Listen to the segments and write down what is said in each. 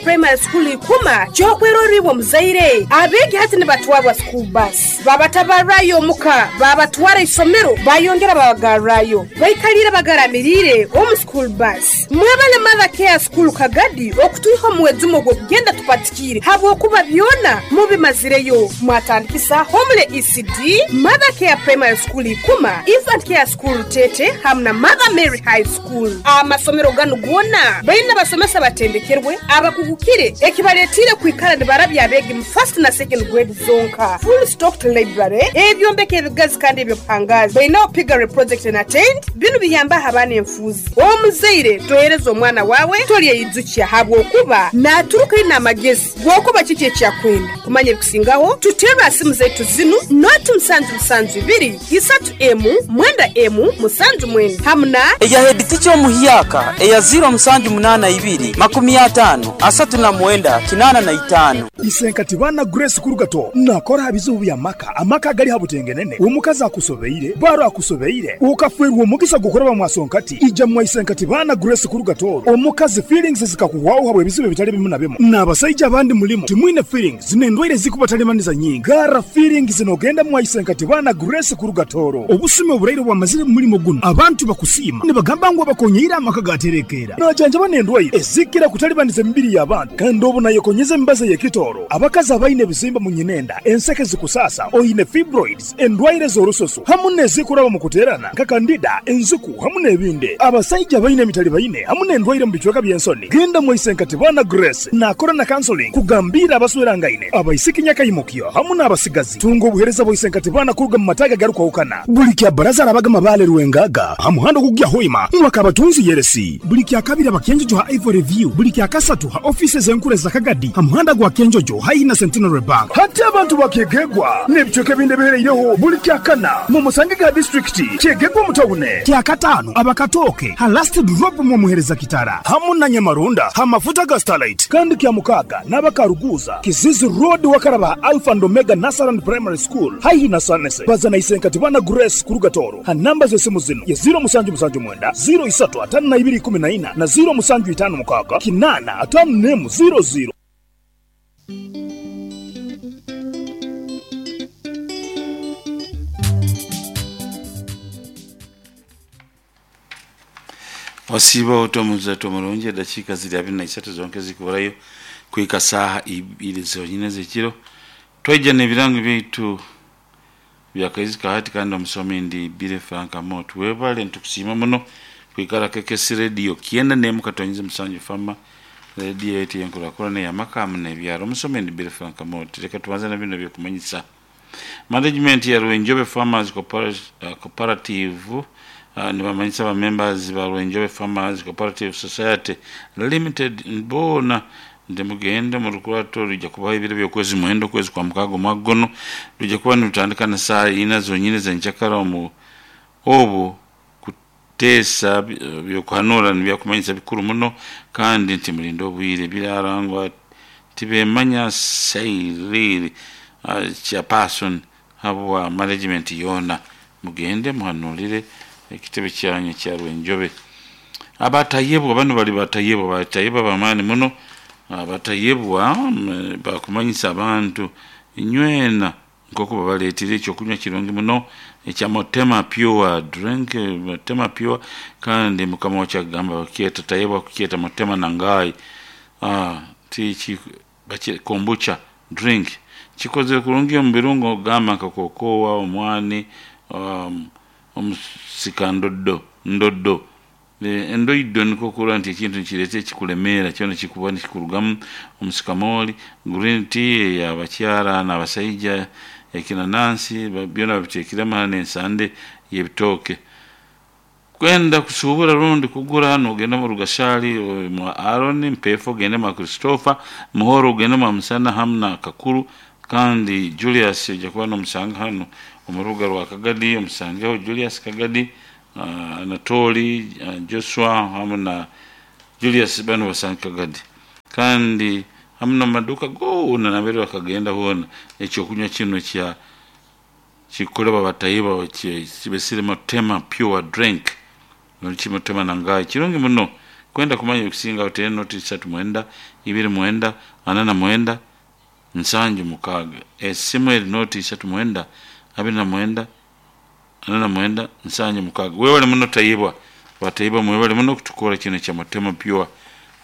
Primary School Ikuma ky'okwerorra iwe omuzaire. Abeegi hati nibatwarwa school bus, babatabarrayo omuka, babatwara isomero, bayongera babagarrayo. Baikaliire bagaramiriire omu school bus. Mwebale Mother Care School Kagadi okutwiha omu mwejumo ogw'okugenda tupatikiire habwokuba byona mubimazireyo. Mwatandikisa Homely ECD, Mother Care Primary School Ikuma, Infant Care School Rutete hamu na Mother Mary High School. Amasomero ganu goona baine abasomesa abatendekerwe, abakugukire ekibaletiire kwikara nibarabya abeegi mu first na second grade zonka. Full stocked library, ebyombeko ebigazi kandi eby'obuhangaazi. Bainaho piggery project and attained. Binu biyambaho abaana enfuuzi. Omuzaire tohereza omwana waawe tolyeyijukya habwokuba naaturuka aine amagezi g'okuba kiki eki akwenda. Kumanya ebikusingaho, tuterre ha simu zaitu zinu, noti musanju musanju ibiri, isatu emu, mwenda emu, musanju mwenda hamu na. Eya heeditica omuhyaka eya ziiro musanju munaana ibiri, makumi ataano, asatu na mwenda, kinaana na itaano. Isenkati baana Grace Kurugato nakora ha bizibu bya maka, amaka agali ha butengenene, omukazi akusobeire, baro akusobeire, okafwerwa omugisa gw'okuraba mwa Sonkati, ija mwa Isenkati baana Grace Kurugato, omukazi feelings zikakuhwaho habw'ebizibu ebitali bimu na bimu, n'abasaija abandi mulimu timwine feelings n'endwaire ezikubatalibanisa nyingi, garra feelings n'ogenda mwa Isenkati baana Grace Kurugatoro. Obusumi oburaire obwamazire mu mulimo guno, abantu bakusiima nibagamba ngu abakonyeire amaka gaterekeera. Najanjaba n'endwaire ezikira kutalibaniza emibiri y'abantu kandi obu nayekonyeza emibazi ey'ekitooro. Abakazi abaine ebizimba mu nyinenda, enseke zikusaasa, oine fibroids, endwaire z'orususu hamu n'ezikuraba omu kuteerana nka kandida, enziku hamu n'ebindi. Abasaija abaine emitalibaine hamu n'endwaire omu bicweka by'ensoni, genda mwaise Nkatibana Grace naakora na counseling kugambiira abaswerangaine, abaisiki nyakaimukyo hamu n'abasigazi. Tunga obuheereza bwa Isenkatibana kuruga mu mataagi agarukwahukana. Buli kya Baraza arabaga Mabaale Rwengaga ha muhanda ogukugya Hoima mwa Kabatunzi Yeresi. Buli kya Kabiri aba Kyenjojo ha Ivory View. Buli kya Kasatu ha ofiisi ez'enkuru eza Kagadi ha muhanda gwa Kyenjojo haihi na Centenary Bank. Hati abantu ba Kyegegwa n'ebicweka ebindi ebihereireho buli kya Kana mumusangege ha disiturikiti Kyegegwa omu tawune. Kya Kataano aba Katooke ha Last Drop mwomuhereza Kitara hamu na Nyamarunda ha mafuta ga Starlight. Kandi kya Mukaaga n'aba Karuguuza, Kizizi Road wakaraba ha Alpha and Omega Nursery and Primary School haihi na Sanese. Baza na Isenkatibana Grace kuruga Tooro ha namba z'esimu zinu ye ziiro musanju musanju mwenda, ziiro isatu ataano na ibiri ikumi na ina na ziiro musanju itaano mukaaga kinaana ataano n'emu ziiro ziiro. Osiiba ota omuzaatu omurungi edakiika ziri abiri na isatu zonka ezikuburayo kuhika saaha ibiri zonyine ez'ekiro. Twaija n'ebirango byaitu bya Kaizi ka hati kandi omusomi ndi Billy Frank Amot. Webale nitukusiima muno kwikara KKC Radio kyenda n'emu katonyeze musanju Fama Radio yaitu ey'enkurakurana ey'amaka hamu n'ebyaro. Omusomi ndi Billy Frank Amot. Leka tubanze na binu eby'okumanyisa. Management ya Rwenjobe Farmers Cooperative nibamanyisa ba members ba Rwenjobe Farmers Cooperative Society Limited boona nti mugende omu rukurato rwija kubaho ebiro by'okwezi mwenda okwezi kwa mukaaga omwaka gunu rwija kuba nirutandika na saaha ina zonyini ez'enkyakara omu obu kuteesa by'okuhanuura nibyakumanyisa bikuru muno kandi nti mulinde obwire. Birarangwa Tibemanya Cyril Chairperson habwa management yoona. Mugende muhanuurire ekitebe kyanyu ekya Rwenjobe. Abatayebwa banu bali batayebwa, batayebwa b'amaani muno. Abatayebwa bakumanyisa abantu inywena nk'oku babaleetire ekyokunywa kirungi muno ekya Motema Pure Drink, Motema Pure kandi mukama wakyo akugamba bakyeta Tayebwa kukyeta Motema Nangai. Ti kombucha drink kikozere kurungi omu birungo gamba nka kokowa, omwani, omusika ndoddo ndoddo. Endoido nikwo kurora nti ekintu nikireeta ekikulemeera kyona kikuba nikikurugamu omusikamooli, green tea ey'abakyara n'abasaija, ekinanansi byona babiteekiremu hanu n'ensande y'ebitooke. Kwenda kusuubura rundi kugura noogenda omu Rugashaali mwa Aaron, Mpeefu ogende mwa Christopher, Muhoro ogende mwa Musana hamu na Kakuru kandi Julius oija kuba noomusanga hanu omu rubuga rwa Kagadi omusangeho Julius Kagadi, Anatoli, Joshua hamu na Julius banu basange Kagadi. Kandi hamu n'omu maduuka goona nambere bakagenda hoona ekyokunywa kinu ekya Kikukolebwa batahi kibesire Motema Pure Drink rundi ki Motema Nangai. Kirungi muno Kwenda kumanya okusinga otere noti 39 29 49 76. Esimu eri noti 39 29 49 76. Webale muno Tayebwa, batayebwa mwebale muno kutukora kino kya Mutema Pure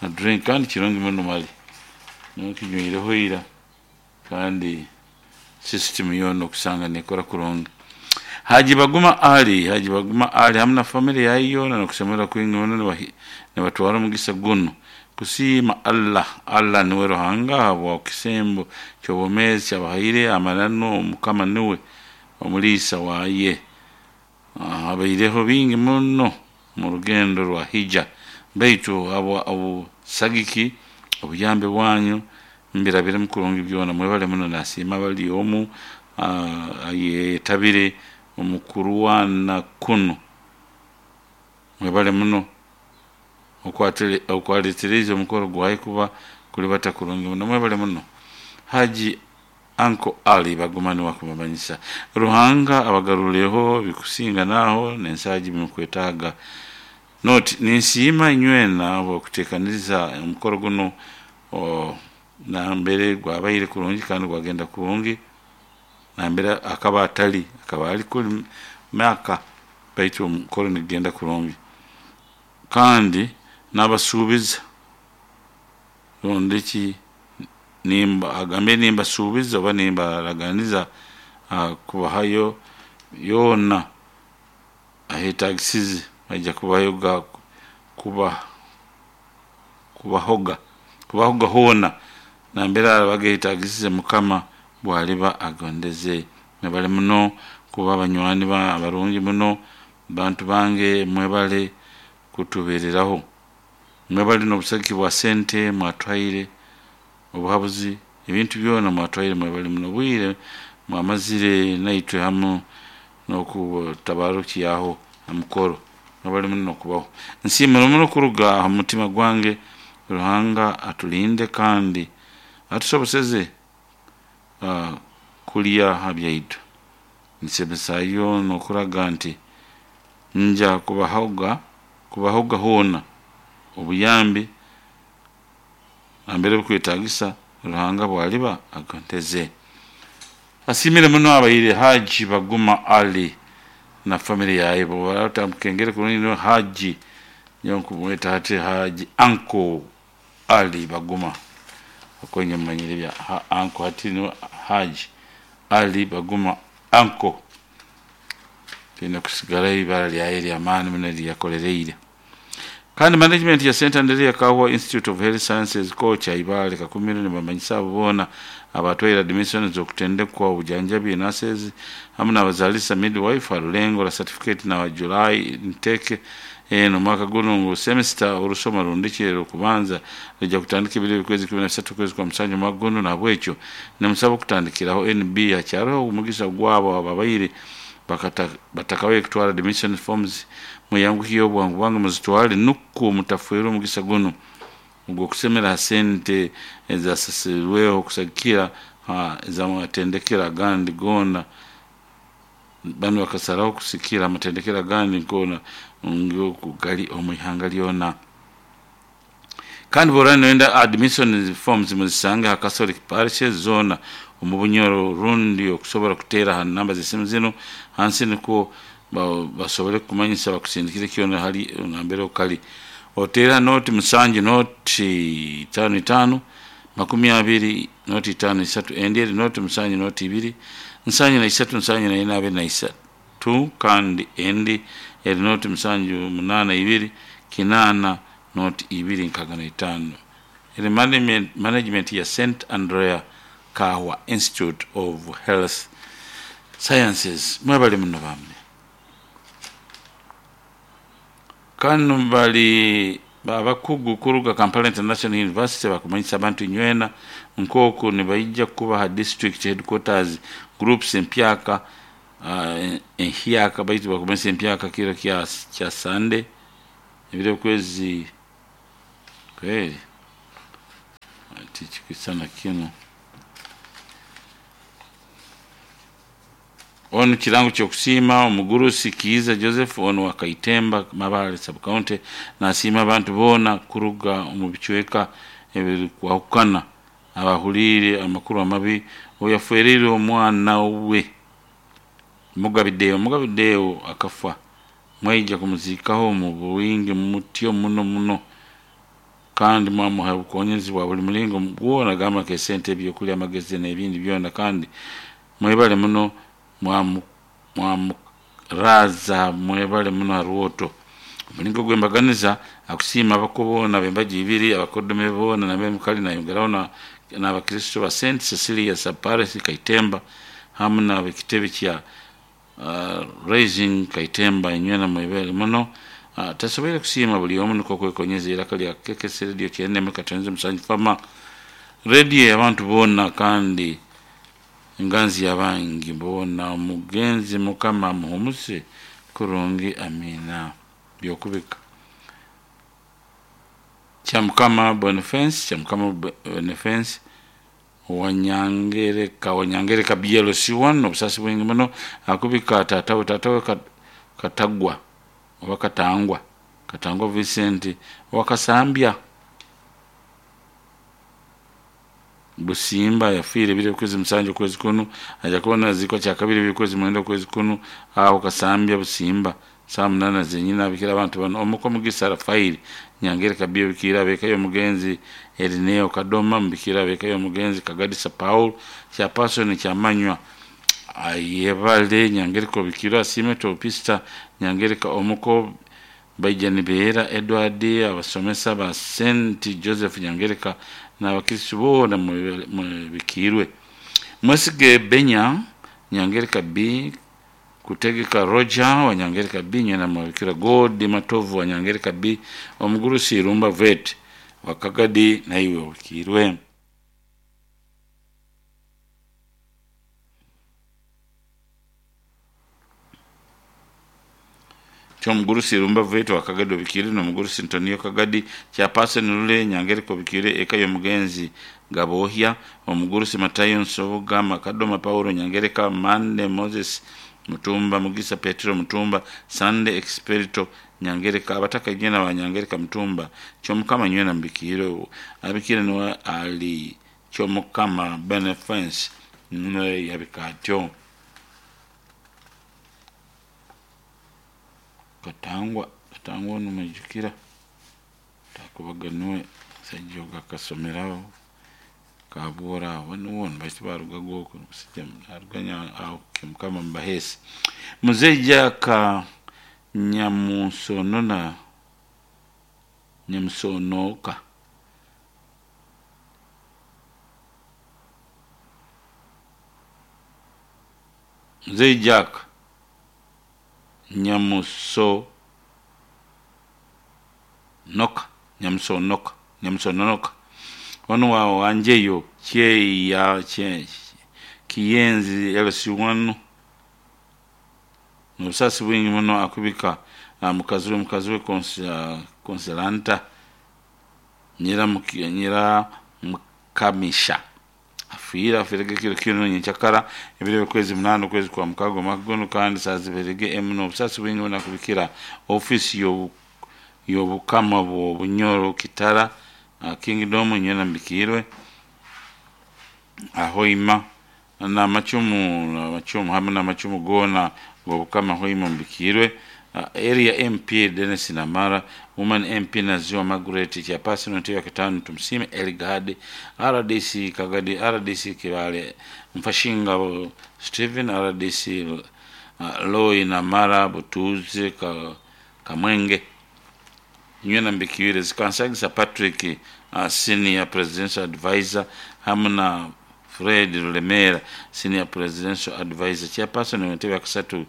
na drink, kandi kirungi muno mali nokinywireho ira, kandi system yoona okusanga nekora kurungi. Haji Baguma Ali, Haji Baguma Ali hamu na family yaye yoona nokusemererwa kwingi muno nibatwara omugisa guno kusiima Allah. Allah niwe Ruhanga habwa kisembo ky'obwomeezi kyabahaire amananu Mukama niwe omuliisa waye. Habaireho bingi muno mu rugendo rwa hija, baitu habwa obusagiki obuyambi bwanyu mbirabiremu kurungi byona. Mwebale muno, nasiima bali omu ayetabire omu kurwana kunu. Mwebale muno okwaleterize omukoro gwaye kuba kulibata kurungi muno. Mwebale muno Haji Anko Ali Baguma niwe akumumanyisa. Ruhanga abagarureho bikusinga naho nensaagi bimukwetaaga. Noti ninsiima inywena habw'okuteekaniriza omukoro guno nambere gwabaire kurungi kandi gwagenda kurungi, nambere akaba atali, akaba ali kuli Maka, baitu omukoro nigugenda kurungi. Kandi nabasuubiza rundi ki nimba agambe nimbasuubiza oba nimbaraganiza kubahayo yoona aheetagisize baija kubayo kuba kubahoga kubahoga hoona nambere arabaga yetagisize Mukama bwaliba agondeze. Mwebale muno kuba abanywani abarungi muno, bantu bange mwebale kutubeereraho. Mwebale n'obusagiki bwa sente mwatwaire, obuhabuzi, ebintu byona mwatwaire mwebale muno. Obwire mwamazire naitwe hamu n'okutabarukyaho ha mukoro. Mwebale muno kubaho. Nsiimire muno kuruga ha mutima gwange. Ruhanga atulinde kandi atusoboseze kulya ha byaitu. Nsemesayo n'okuraga nti nja kubahoga kubahoga hoona obuyambi nambere bukwetagisa Ruhanga bwaliba agonteze. Asiimire muno abaire Haji Baguma Ali na family yaye. Bw'otamukengere kurungi niwe Haji, nyowe nkumweta hati Haji Anko Ali Baguma, okwenye mumanyire bya Anko, hati niwe Haji Ali Baguma Anko. Twine kusigarayo ibara lyaye ly'amaani muno eryakolereire. Kandi management ya St. Andrea Kahwa Institute of Health Sciences Kocha Ibale Kakumiro nibamanyisa abo boona abatwaire admission z'okutendekwa obujanjabi nurses hamu n'abazaalisa midwife ha rulengo rwa certificate na July nteke eno omwaka guno ngu semester orusoma rundikire rw'okubanza rwijja kutandika ebiro eby'okwezi 13 okwezi kwa musanju omwaka guno. Nahabwekyo nimusaba okutandikiraho NB hakyariho omugisa gwabo ababaire batakabaire kutwara admission forms, muyanguhiye obwangu bwange muzitwale nukwo mutafwerwa omugisa guno ogw'okusemera ha sente ezasasirweho kusagikira ez'amatendekero agandi goona. Banu bakasaraho kusikira amatendekero agandi goona oku gali omu ihanga lyona. Kandi bw'oraaba noyenda admission forms muzisange ha Catholic parishes zoona omu Bunyoro, rundi okusobora kuteera ha namba z'esimu zinu hansi nukwo basobole kukumanyisa bakusindikire kyona hali nambere okali. Oteera noti 7 noti 5 5 20 noti 5 3, endi eri noti 7 noti 2 73 74 23, kandi endi eri noti 7 8 2 8 noti 2 65. Eri management ya St. Andrea Kahwa Institute of Health Sciences. Mwebale muno bambi. Kanu bali abakugu kuruga Kampala International University bakumanyisa abantu inywena nk'oku nibaija kuba ha district headquarters groups empyaka enhyaka, baitu bakumanyisa empyaka kiro kya Sunday ebiro okwezi kweri tikikwisana kinu. Onu kirango kyokusiima omugurusi Kiiza Joseph onu wa Kaitemba Mabale sub county nasiima abantu boona kuruga omu bicweka ebirikwahukana abahuliire amakuru amabi obu yaferiire omwana we Mugabideo. Mugabideo akafa mwaija kumuziikaho omu bwingi mutyo muno muno kandi mwamuha obukonyezi bwa buli mulingo bwona, gamba nk'esente, ebyokulya, amagezi n'ebindi byona, kandi mwebale muno mwamuraza, mwebale muno ha rwoto. Omulingo gw'embaganiza akusiima abako boona ab'embaju ibiri, abakodome boona nab'emukali, nayongeraho n'abakristo ba St Cecilia sub parish Kaitemba hamu n'ab'ekitebe kya Raising Kaitemba, inywena mwebale muno. Tasoboire kusiima buli omu nukwo kwekonyeza iraka lya KKC Radio kyenda emu katonze musanju fama radio y'abantu boona kandi enganzi y'abangi boona. Omugenzi Mukama amuhumuze kurungi, amiina. Byokubika Kyamukama Boniface, Kyamukama Boniface Wanyangereka, Wanyangereka BLC1, obusasi bwingi muno akubika tatawe, tatawe Katagwa oba Katangwa, Katangwa Vincent owakasambya Busimba yafiire ebiro okwezi 7 okwezi kunu, aja kubona azikwa kyakabiri ebiro okwezi 9 okwezi kunu aho Kasambya Busimba saa 8 zenyini. Abikira abantu bano omuko Mugisa Rafairi Nyangereka B bikira abeka y'omugenzi Erineo Kadoma mubikira abeka y'omugenzi Kagadisa Paul Chapason Kyamanywa ayebale Nyangereka obikira asiime Topista Nyangereka omuko Baija Nibeera Edward, abasomesa ba St Joseph Nyangereka n'abakristo boona mubikirwe. Mwesige Benya Nyangereka B, Kutegeka Roger wa Nyangereka B, nyina mubikira God Matovu wa Nyangereka B, omugurusi Irumba Vet wa Kagadi naiwe obikirwe. Kyomugurusi Irumba Vet wa Kagadi obikire, n'omugurusi Antonio Kagadi Chapason Lule Nyangereka obikire, eka y'omugenzi Gabohya, omugurusi Matayo Nsoboga Makadoma Paulo Nyangereka Mande Moses Mutumba Mugisa Petero Mutumba Sande Experito Nyangereka abataka inywena ba Nyangereka Mutumba Kyomukama nywena mbikire abikire niwe ali Kyomukama Beneface niwe yabika atyo. Katangwa, Katangwa onu mwijukira takubaga niwe musaija ogu akasomeraho Kabuura aho nuwe baitu barugaga oku omusajja naruga aho Kyomukama mubaheesi. Muzei Jack Nyamusonona Nyamusonoka Muzei Jack Nyamusonoka Nyamusonoka Nyamusononoka ono wa wanjeyo kyeya Kiyenzi LC1 n'obusasi bwingi muno akubika mukazi we, mukazi we Consolanta Nyira Mukamisha afiire afiirege kiro kinu nyenkyakara ebiro by'okwezi 8 okwezi kwa mukaga omwaka guno kandi saaziberege emu n'obusasi bwingi muno akubikira ofiisi y'obukama bw'Obunyoro Kitara Kingdom nywena mbikirwe Ahoima n'amacumu amacumu hamwe n'amacumu goona g'obukama Hoima mbikirwe. Area MP Dennis Namara, Woman MP Naziwa Margaret Chapason Ntebe Katano Tumsime Elgad RDC Kagadi RDC Kibale Mfashinga Stephen RDC Loi Namara Butuze Kamwenge nywena mbikiwire zikansagisa Patrick Senior Presidential Advisor hamwe na Fred Rulemera Senior Presidential Advisor Chairperson w'entebe ya kasatu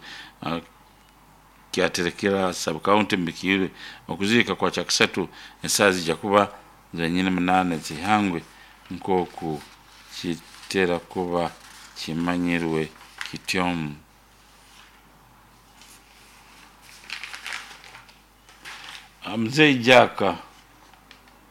kyaterekera sub county mbikirwe. Okuziika kwa kyakisatu esaaha zijja kuba zenyini 8 zihangwe nk'oku kitera kuba kimanyirwe kityo. Mzee Jack